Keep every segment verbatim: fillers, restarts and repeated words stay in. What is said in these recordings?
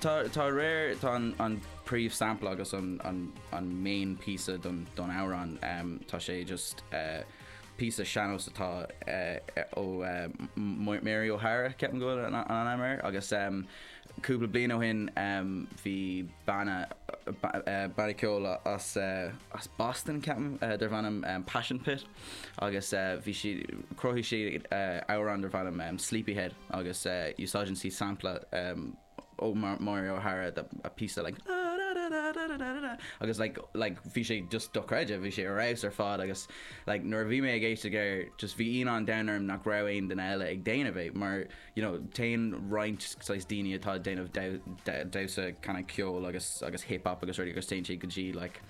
Tá tá réir tá an, an príomh sample agus an, an, an main píosa don, don amhrán um, tá sé just uh, píosa sean-nós atá uh, ó uh, Mary O'Hara ceapaim go bhfuil an an ainm air agus um, cúpla bliain ó shin um, bhí banna uh, banna ceoil as uh, as Boston ceapaim uh, darb ainm um, Passion Pit agus uh, bhí si chruthaigh sí uh, amhrán darb ainm um, Sleepyhead agus uh, úsáideann sí sampla um, ó Mar Mario O'Hara the, a piece like agus like like bhí sé just dochreidte bhí sé ar fheabhas ar fad agus like nuair a bhí mé ag éisteacht air just bhí ionadh an domhain orm nach raibh aon duine eile ag déanamh é mar you know téann roinnt saghas daoine atá ag déanamh damhsa kind of ceol agus agus hip hop agus rudaí agus téann siad go dtí like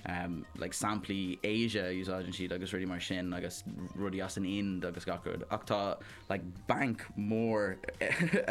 um, like samplaí Asia úsáideann siad agus rudaí mar sin agus rudaí as an Ind agus gach rud ach tá like bank mór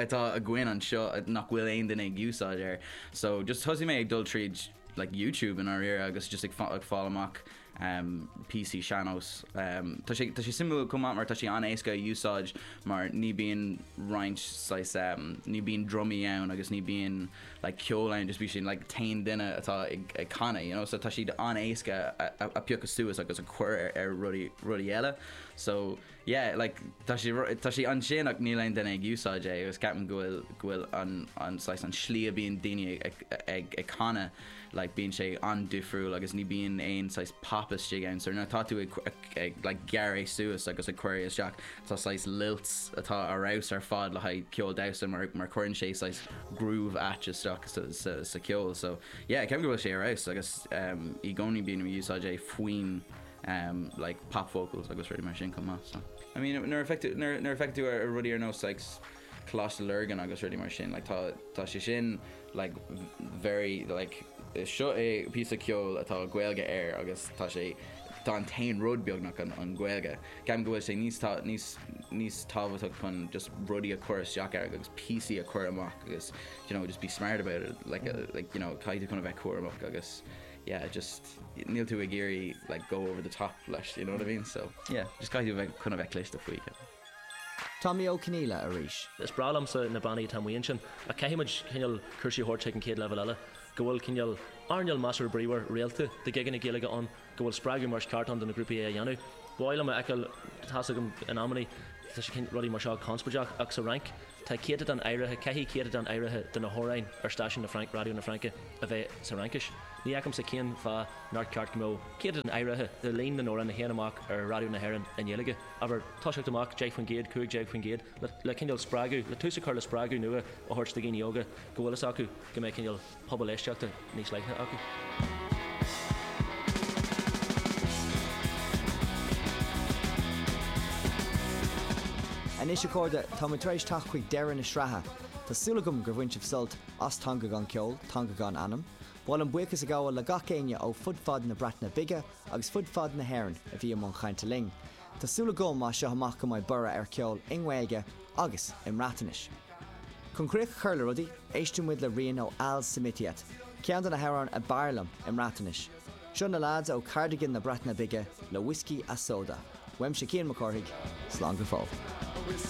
atá againn anseo nach bhfuil aon duine ag úsáid air so just thosaigh mé ag dul tríd like YouTube in áirithe agus just ag ag fáil amach um, píosaí sean-nós um, Tá sé tá sé suimiúil chomh maith mar tá sé an-éasca a úsáid mar ní bíonn roinnt saghas um, ní bíonn drumaí ann agus ní bíonn like ceol ann just bí sin like t-aon duine atá ag, ag canadh you know so tá siad an-éasca a, a, a phiocadh suas agus a chur ar, ar rudaí rudaí eile so yeah like tá sé tá sé ansin ach níl aon duine ag úsáid é agus ceapaim go bhfuil go bhfuil an an saghas an slí a bíonn daoine ag ag ag canadh like bíonn sé an-difriúil agus ní bíonn aon saghas pop istigh ann so nuair atá tú ag, ag, ag like gearradh suas agus ag cur isteach tá saghas lilts atá ar fheabhas ar fad le haghaidh ceol damhsa mar mar cuireann sé saghas groove ait isteach sa, sa, sa ceol so yeah ceapaim go bhfuil sé ar fheabhas agus um, i gcónaí bíonn úsáid é faoin um, like pop vocals agus rudaí mar sin chomh maith so I mean nuair a nuair nuair a fheiceann tú ar rudaí ar nós like Coláiste Lurgan agus rudaí mar sin like tá tá sé sin like very like seo é píosa ceoil atá Gaeilge air agus tá sé tá an t-aon rud beagnach an, an Ghaeilge. Ceapaim go bhfuil sé níos níos níos tábhachtach chun just rudaí a chur isteach air agus píosaí a chur amach agus you know just be smart about it like mm. uh, like you know caithfidh chun a bheith cúramach agus yeah just níl tú ag iarraidh like go over the top leis you know what I mean so yeah just caithfidh bheith chun a bheith cliste faoi. Tommy Ó Conghaile arís. Is breá liomsa na bannaí atá amuigh ansin a caithfimid cineál cúrsaí a thabhairt chuig an chéad leibhéal eile, go bhfuil cineál earnáil measartha bríomhar rialta de gigeanna Gaeilge ann, go bhfuil spreagadh mar is ceart ann do na grúpaí é a dhéanamh. Ba mhaith liom a fheiceáil tá's agam in amannaí tá sé rudaí mar seo conspóideach ach sa Fhrainc tá céatadán áirithe caithfidh céatadán áirithe de na hamhráin ar stáisiún na Frainc Raidió na Fraince a bheith sa Fhraincis. Ní fheicimse cén fáth nár ceart go mbeadh céatadán áirithe de líon na n-amhrán a théann amach ar Raidió na hÉireann i nGaeilge. Abair toiseacht amach deich faoin gcéad cúig déag faoin gcéad le, le cineál spreagadh le tús a chur le spreagadh nua a thabhairt do dhaoine óga go bhfuil fhios acu go mbeidh cineál pobal éisteachta níos leithne acu. Anois a chairde tá muid tar éis teacht chuig deireadh na sraithe. Tá súil agam gur bhain sibh sult as Teanga gan Ceol, Teanga gan Anam, B'áil liom buíochas a ghabháil le gach éinne ó fud fad na Breataine Bige agus fud fad na hÉireann a bhí i mbun cainte linn. Tá súil agam as seo amach go mbeidh borradh ar ceol i nGaeilge agus i mBreatnais. Chun críoch a chur le rudaí, éistfidh muid le rian ó Al Semitiat, ceann de na hamhráin ab fhearr liom i mBreatnais. Seo na lads ó Cardigan na Breataine Bige le Whiskey a Soda. Uaimse Cian Mac Cárthaigh, slán go fóill.